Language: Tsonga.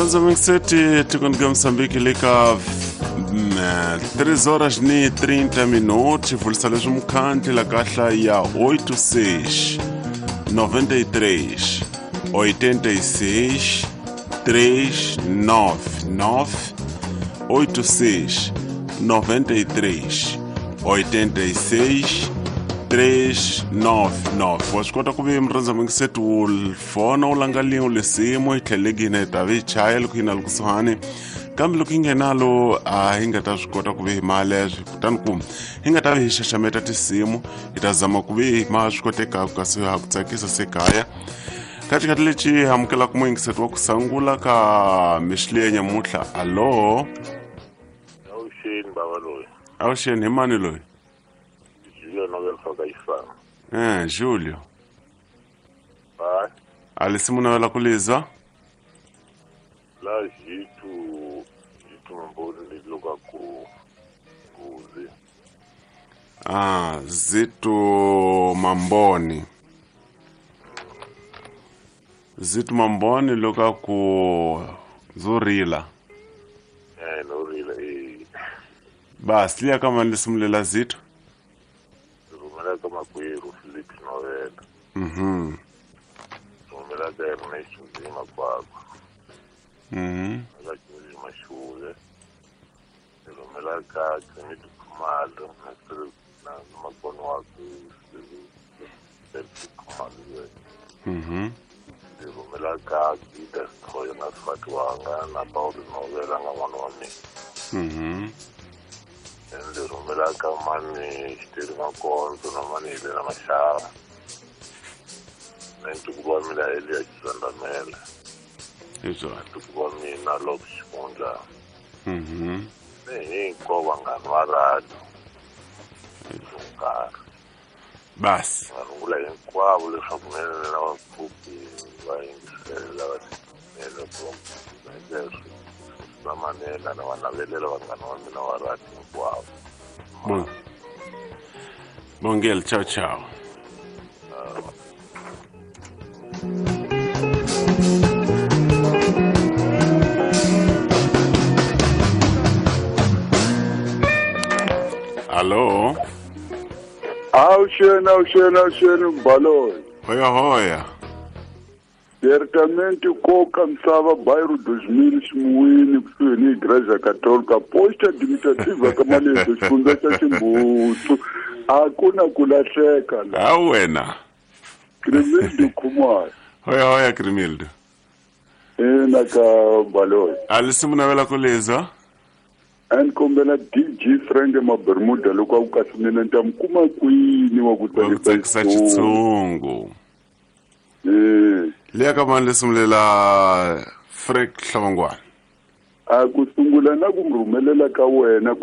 Murhandza mingiseti tikweni ka Mozambique le ka 3 horas ni 30 minutos vulisa leswi mukhandli la kahla ya 86 93 86 399 86 93 86 399. Wa swi kota ku ve murhandza mingiseti wu fona wu langa lin'we lisimu yi tlheleki hina hi ta vi chaya loko yi na le kusuhani, kambe loko yi nghenalo a hi nga ta swi kota ku ve hi maleswi, kutani ku hi nga ta vi hi xaxameta tinsimu, hi ta zama ku ve ma swi kotekaka kasi ha ku tsakisa se kaya. Ka xikhathi lexi hi amukelaka muyingiseti wa ku sangula ka mixili ya nyamutlha. Alo? Awuxeni bava loyi. Awuxeni, hi mani loyi? Julio Nobel Ifana. Julio. Ba. Alisimu nawela kulizwa? La jitu jitu mboni liloka ku kuzi. Ah, Zitu Mamboni. Zitu Mamboni loka ku Zurila. Norila Basi liya kama nisimulela Zitu. Rumela ka makwerhu Philip Novela. Mhm. Rumela ka Ernest Nzima kwakho. Mhm. Ka Nzima Shule. Rumela ka Kennedy Khumalo na na makono wakhe Philip Khumalo. Mhm. Rumela ka Gida Sithoyo na Sifati wanga na Paulo Novela nga n'wana wa mina. Mhm. Ndzi rhumela ka mani Xiteri Makondzo na mani Helena Mashava na ntukulu wa mina Eliya Xisandamela. Izwa. Ntukulu wa mina Lop Xikundla. Mhm. Ni hinkwavo vanghani va radio. Nkarhi. Basi. Va rungula hinkwavo leswaku mina na vapfhuki va yingisela va timela ku va manela na va navelela vanghana va mina va radio hinkwavo. Bon. Bongel, ciao ciao. Allo? Awuxeni, awuxeni, awuxeni Mbaloyi. Hoya hoya. Certamente koka misava bairro 2000 ximuwini kusuhi ni Igreja Católica posta administrativa ka Malezo xifundza xa Ximbutu. A ku na ku lahleka la. Ha wena. Krimildo Khumalo. Hoya hoya Krimildo. Ina ka Mbaloyi. Alisimu navela kulizwa? A ni kombela DJ Frank Mabermuda loko a ku kasi mina ni ta mi kuma kwini wa ku tsakisa xitshungu. Eh. Liya ka mani lisimulela Frank Hlongwane. A ku sungula na ku mi rhumelela ka wena.